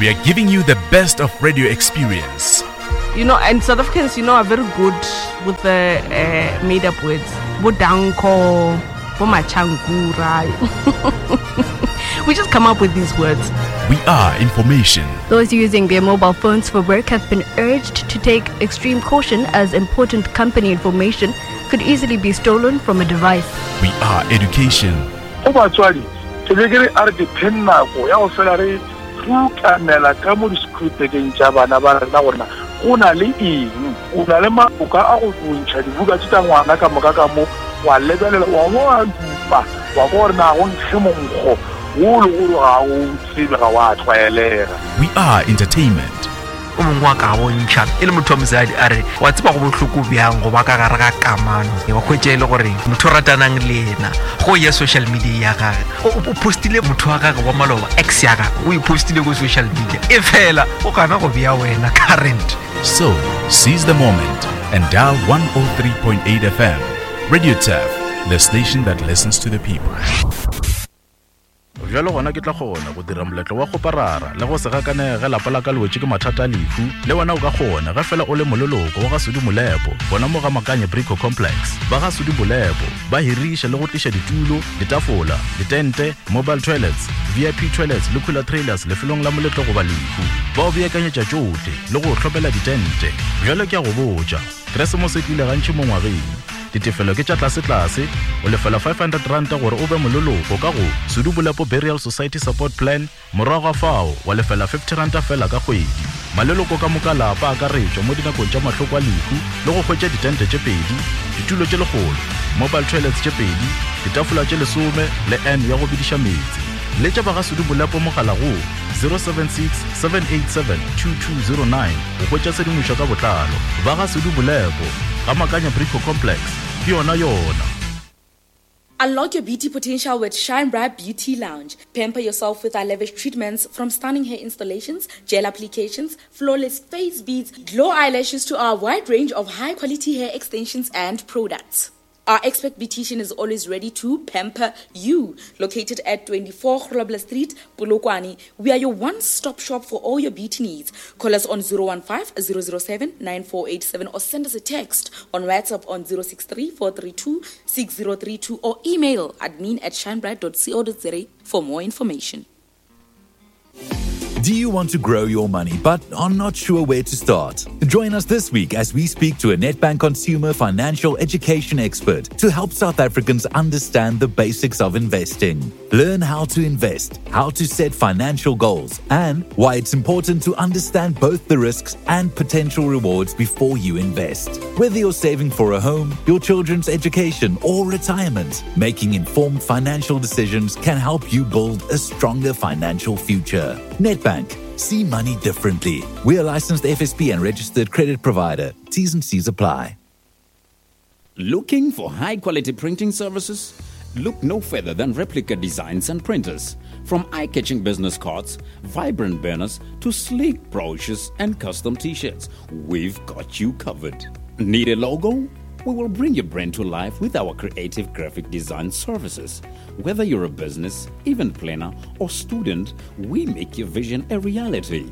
We are giving you the best of radio experience. You know, and South Africans, you know, are very good with the uh, made up words. Bodanko, Bomachankura. we just come up with these words. We are information. Those using their mobile phones for work have been urged to take extreme caution as important company information could easily be stolen from a device. We are education. Go batswadi, ke be ke re a re dipheng nako ya go fela re rutamela ka mo disekhurutekeng tša bana ba rena gore na go na le eng. O na le maboka a go ntšha dibuka tše tša ngwana ka moka ka mo, wa lebelela, wa bo wa dupa, wa kwa gore na go nkge monkgo wo le gore ga o tsebe, ga wa tlwaelega. We are entertainment. O mongwe wa ka bontšha e le motho wa mosadi a re wa tseba go bohloko bjang go ba ka gare ga kamano wa hwetša e le gore motho o ratanang le yena go ya social media ya gage o postile motho wa gage wa maloba ex ya gage o e postile ko social media e fela o gana go bea wena current. So, seize the moment and dial 103.8 FM. Radio Turf, the station that listens to the people. Bjalo gona ke tla kgona go dira moletlo wa kgoparara le go se gakanege ge lapa la ka le wetše ke mathata a lehu. Le wena o ka kgona ge fela o le moleloko wa ga Sudi Molepo gona mo ga Makanye Brico Complex. Ba ga Sudi Molepo ba hiriša le go tliša ditulo, ditafola, ditente, mobile toilets, VIP toilets le cooler trailers lefelong la moletlo goba lehu. Ba o beakanyetša tšohle le go o hlopela ditente. Bjalo ke a go botša, Keresemose e tlile gantši mo ngwageng. Ditefelo ke tša tlasetlase, o lefela R500 gore o be moleloko ka go Sudu Bolepo Burial Society Support Plan, morago ga fao wa lefela R50 feela ka kgwedi. Maleloko ka moka lapa a akaretšwa mo dinakong tša mahloko a lehu le go hwetša ditente tše pedi, ditulo tše lekgolo, mobile toilets tše pedi, ditafola tše lesome le urn ya go bediša meetse. Letša ba ga Sudu Bolepo mogala go 076 787 2209 go hwetša tshedimošo ka botlalo. Ba ga Sudu Bolepo, ga Makanya Brico Complex, ke yona yona. Unlock your beauty potential with Shine Bright Beauty Lounge. Pamper yourself with our lavish treatments from stunning hair installations, gel applications, flawless face beads, glow eyelashes to our wide range of high quality hair extensions and products. Our expert beautician is always ready to pamper you. Located at 24 Grobler Street, Polokwane, we are your one-stop shop for all your beauty needs. Call us on 015 007 9487 or send us a text on WhatsApp on 063 432 6032 or email admin at shinebright.co.za for more information. Do you want to grow your money but are not sure where to start? Join us this week as we speak to a Nedbank consumer financial education expert to help South Africans understand the basics of investing. Learn how to invest, how to set financial goals, and why it's important to understand both the risks and potential rewards before you invest. Whether you're saving for a home, your children's education, or retirement, making informed financial decisions can help you build a stronger financial future. Nedbank. See money differently. We are licensed FSP and registered credit provider. T's and C's apply. Looking for high quality printing services? Look no further than Replica Designs and Printers. From eye catching business cards, vibrant banners, to sleek brochures and custom t shirts, we've got you covered. Need a logo? We will bring your brand to life with our creative graphic design services. Whether you're a business, event planner, or student, we make your vision a reality.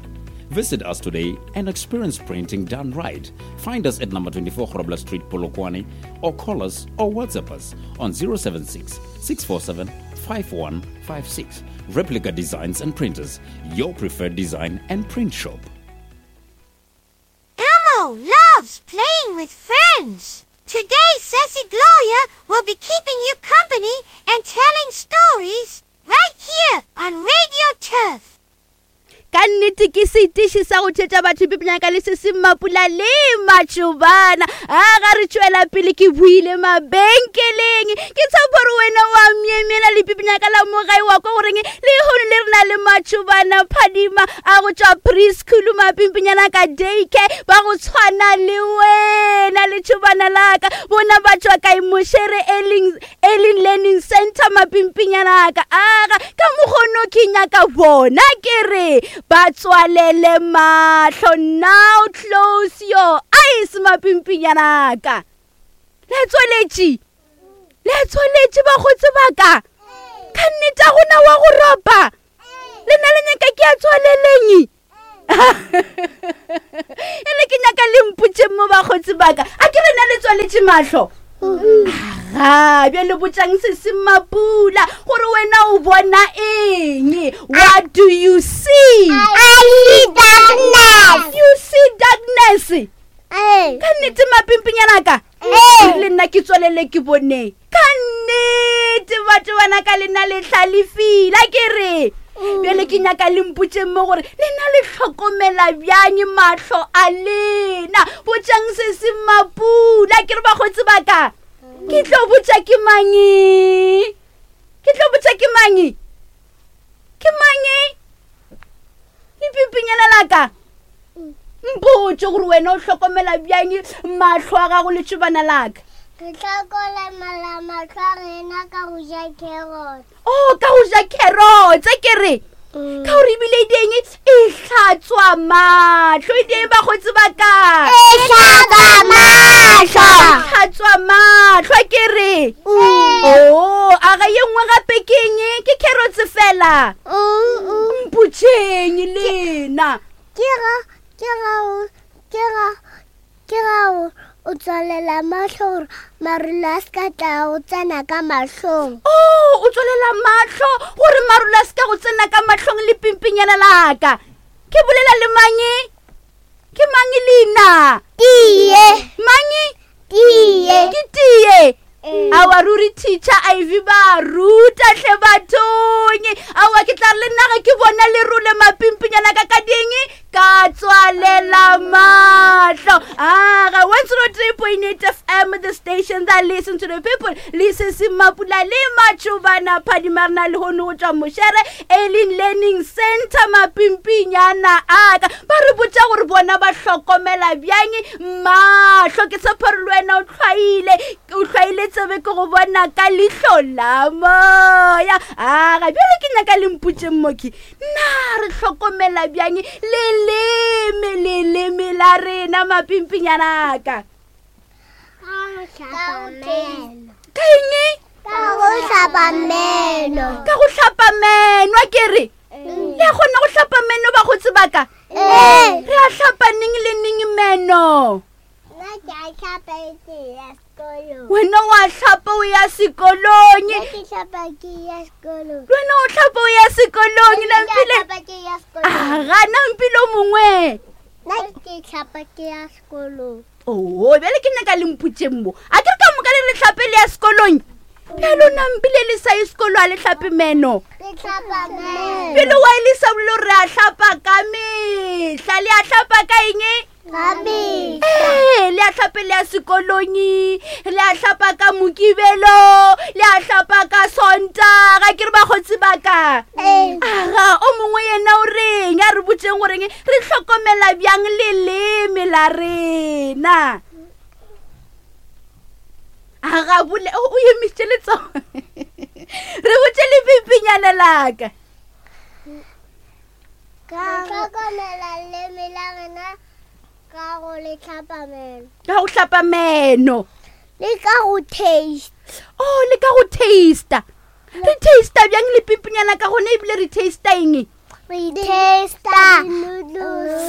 Visit us today and experience printing done right. Find us at number 24 Grobler Street, Polokwane, or call us or WhatsApp us on 076 647 5156. Replica Designs and Printers, your preferred design and print shop. Elmo loves playing with friends. Today, Sassy Gloria will be keeping you company and telling stories right here on Radio Turf. Ka nnete ke setiši sa go tšhetša batho pipinyaka le se se mapula le matšobana a ga re tšwela pele ke buile mabenkeleng ke tshepo gore wena wa myemyela le pipinyaka la mogae wa kwa goreng lehono le re na le matšobana phadima a go tšwa preschool mapimpinyana ka daycare ba go tshwana le wena letšobana laka bona ba tšwa kae mošere eling Early Learning Center mapimpinyana ka aga ka mokgono ke nyaka bona ke re ba tswalele mahlo now close your eyes mapimpinyana ka le tswaletše le tswaletše bakgotsi ba ka ka nnete a gona wa go ropa le na le nyaka ke a tswaleleng. Ele ke nyaka le mpotše mo bakgotsi baka. A ke rena le tswaletše mahlo? Aga, bjale botšang se se mapula gore wena o bona eng? What do you see? I see darkness. You see darkness. Ka nnete mapimpinyana ka? Le nna ke tswalele ke boneng. Ka nnete batho bana ka lena le hlalefile a ke re. Bjale ke nyaka le mpotšeng mo gore lena le hlokomela bjang mahlo a lena. Botšang se se mapula ke re bakgotsi ba ka. Ke tlo botša ke mangi? Ke tlo botša ke mangi? Ke mangi? Lepimpinyana la ka. Mpotše gore wena o hlokomela bjang mahlo a gago letšobana la ka. Re hlokomela mahlo a rena ka go ja carrot. Oh, ka go ja carrots ke re. Ka gore ebile e deng e hlatswa mahlo e deng bakgotsi ba ka. E hlatswa mahlo. E hlatswa mahlo ke re. Oh, a ga ye nngwe gape ke eng? Ke carrots fela. Mpotšeng lena. Ke ga ke ga o ke ga ke ga o o tswalela mahlo gore marula a se ka tla o tsena ka mahlong. Oh, o tswalela mahlo gore marula a se ka go tsena ka mahlong le pimpinyana laka. Ke bolela le mange? Ke mange leina? Tie. Mange? Tie. Ke tie. Awa ruri teacher Ivy ba ruta hle bathong. Awa ke tla re le nna ge ke bona lerole mapimpinyana ka ka ding ka tswalela mahlo. Aga 103.8 FM the station that listen to the people. Le se se mapula le matšhobana phadimarena le hono go tšwa mošere Early Learning Center mapimpinyana aka ba re botša gore bona ba hlokomela bjang mahlo. Ke tshepa gore le wena o hlwaile o hlwaile tsebe ke go bona ka leihlo la moya. Aga bjale ke nyaka le mpotšeng moki na re hlokomela bjang leleme leleme la rena mapimpinyana aka. Ka eng? Ka go hlapa meno. Ka go hlapa meno a ke re. Le a kgona go hlapa meno bakgotsi ba ka? Re a hlapa neng le neng meno? Nna ke a hlapa e ke ya sekolong. Wena wa hlapa o ya sekolong. Nna ke hlapa ke ya sekolong. Wena o hlapa o ya sekolong. Nna ke Nampile. hlapa ke ya sekolong. Aga nampile o mongwe. Nna ke hlapa ke ya sekolong. Oo, bjale ke nyaka le mpotšeng mo. A ke re ka moka le le hlape le ya sekolong? Bjalo nampile le sa ye sekolo a le hlape meno. Re hlapa meno. Bjale wa e le sa bolelo re a hlapa ka mehla. Le a hlapa ka eng? Ka mehla. Ee, le a hlape le ya sekolong, le a hlapa ka Mokibelo, le a hlapa ka Sontaga. Ke re bakgotsi ba ka. Aga, o mongwe yena o reng? A re botšeng goreng re hlokomela bjang leleme la rena. Aga bole, o o emišitše letsogo. Re botše lepipinyana laka. Ka hlokomela leleme la rena ka go le hlapa meno. Ka go hlapa meno. Le ka go taste. Oh, le ka go taster. Re taster bjang lepipinyana ka gona ebile re taster eng? Re taster noodles.